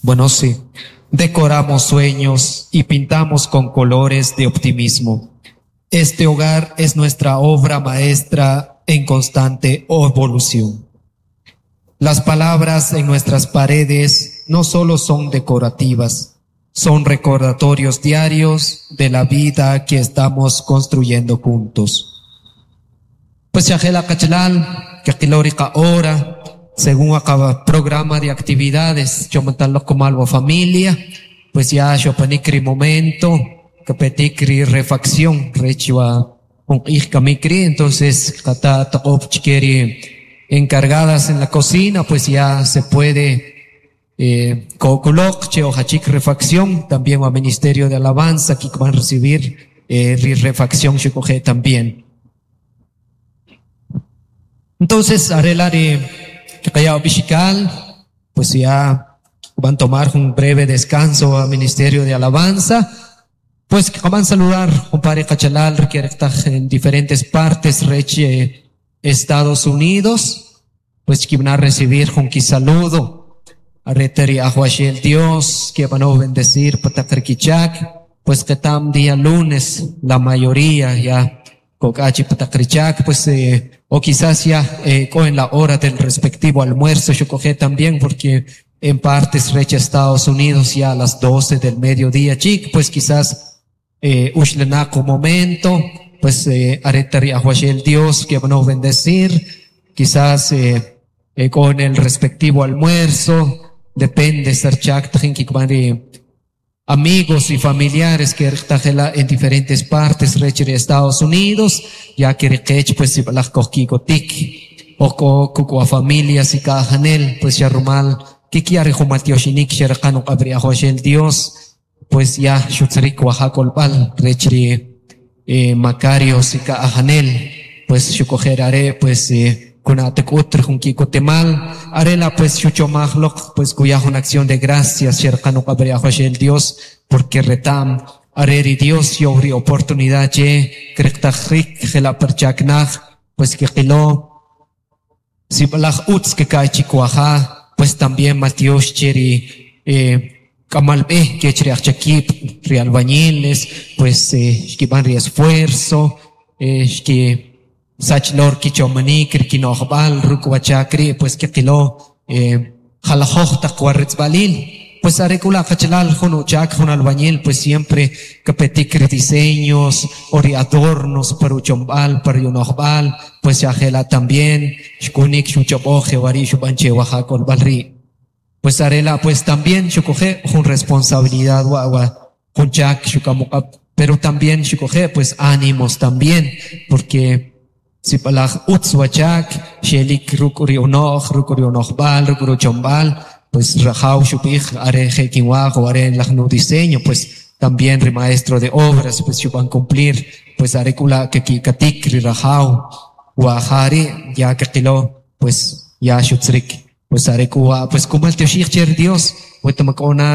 Bueno, sí. Decoramos sueños y pintamos con colores de optimismo. Este hogar es nuestra obra maestra en constante evolución. Las palabras en nuestras paredes no solo son decorativas, son recordatorios diarios de la vida que estamos construyendo juntos. Pues ya qachalal, kaqilo ri hora, según acaba programa de actividades, chomantalok kumal familia, pues ya xopanik ri momento, kapetik ri refacción, rech wa jun q'ij kamik ri, entonces kata toq'ob chike ri encargadas en la cocina, pues ya se puede ko'kuloq che ujachik refacción, también al Ministerio de Alabanza que van a recibir ri refacción xuquje' también. Entonces, are la' ri kaqaya ub'ixikal, pues ya van a tomar un breve descanso al Ministerio de Alabanza. Pues van a saludar, compadre qachalal, que en diferentes partes, rech Estados Unidos, pues que van a recibir con saludo. Are ri Ajawaxel Dios, que van a bendecir pa taq ri kichak, pues que tam día lunes, la mayoría ya, kokachi pa taq ri chak, pues o quizás ya en la hora del respectivo almuerzo, yo coge también, porque en partes rech Estados Unidos ya a las 12 del mediodía, chik, pues quizás uxlanaq momento, pues are ri Ajawaxel Dios que van a bendecir, quizás con el respectivo almuerzo, depende ser chak amigos y familiares que en diferentes partes rech Estados Unidos, ya que rikech pues sib'alaj kojki'kotik o kuk' familias y kajanel pues ya rumal kikiya ri jun maltioxinik xeraqan uq'ab' ri Ajawaxel Dios pues ya xutzirik wa ja k'olb'al rech ri Macarios y ka'ajanel pues xukojer are' pues kuna'taj k'ut ri jun ki'kotemal are la' pues xuchomaj loq pues kuya jun acción de gracias xeraqan uq'ab' ri Ajawaxel Dios porque reta'm are ri Dios yo'w ri oportunidad che kriqtaj rik jela' par chak naj pues kiqilo sib'alaj utz kika'y chikwaja pues también maltiox che ri k'amal b'e kech ri ajchakib' ri albañiles pues xkib'an ri esfuerzo xki sach lor kichomanik ri kino'jb'al ruk' wachak ri' pues kiqilo jalajoj taq waritzb'alil pues are k'u la' qachalal jun uchak jun albañil pues siempre kapetik ri diseños o ri adornos par uchomb'al par uno'jb'al pues ya jela' también xkunik xuch'ob'oj jewari' xub'an che wa ja k'olb'al ri' pues are la' pues también xuquje' jun responsabilidad wa wa jun chak xuk'am uq'ab' pero también xuquje' pues ánimos también porque sib'alaj utz wachak xelik ruk' ri uno'j ruk' ri uno'jb'al ruk' ri uchomb'al pues rajaw xub'ij are je' kinwaj o are laj nu diseño pues también ri maestro de obras pues xub'an cumplir pues are k'u la' keki'katik ri rajaw wa ja ri' ya kiqilo pues ya xutzrik pues are k'u wa pues kumaltioxij che ri Dios weta mak'o na.